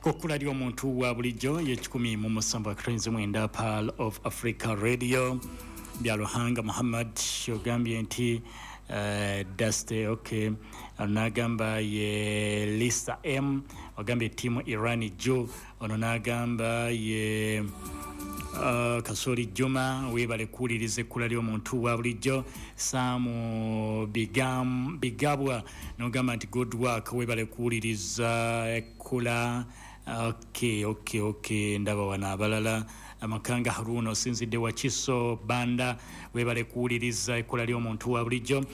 Ku kkula ly'omuntu wa bulijjo ye 107.9 Pearl of Africa Radio. Byaluhanga Muhammad ogambye nti Daste, okay. Ono n'agamba ye Lisa M, ogambye tiimu Iran jo. Ono n'agamba ye Kasoli Juma, webale kuwuliriza ekkula ly'omuntu wa bulijjo. Saamu Bigabwa nogamba nti good work, webale kuwuliriza ekkula. Okay, ndaba wano abalala. Amakanga Haruna, osinzidde Wakiso Banda, webale kuwuliriza ekkula ly'omuntu wa bulijjo.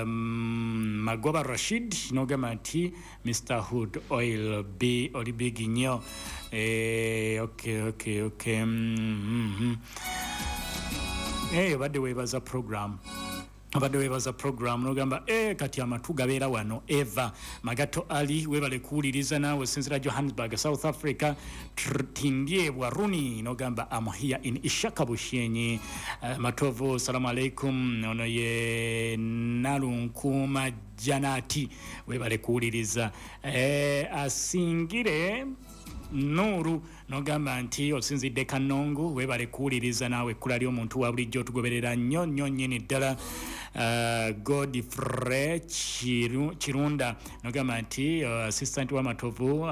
Magoba Rashid nogamba nti Mr Hood Oil B, oli big nnyo. Okay. Obadde weebaza program, obadde weebaza program nogamba kati amatu gabeera wano. Eva Magato Ali, webale kuwuliriza naawe, osinzira Johannesburg, South Africa. Tindyebwa Runi nogamba am here in Ishaka Bushenyi. Matovu, salamu alaikum. Ono ye Nalunkuuma Janati, webale kuwuliriza. Asingire Nuru nogamba nti osinzidde Kanongu, webale kuwuliriza naawe ekkula ly'omuntu wa bulijjo, otugoberera nnyo nnyo nnyini ddala. Godfrey Kirunda nogamba nti assistant wa Matovu,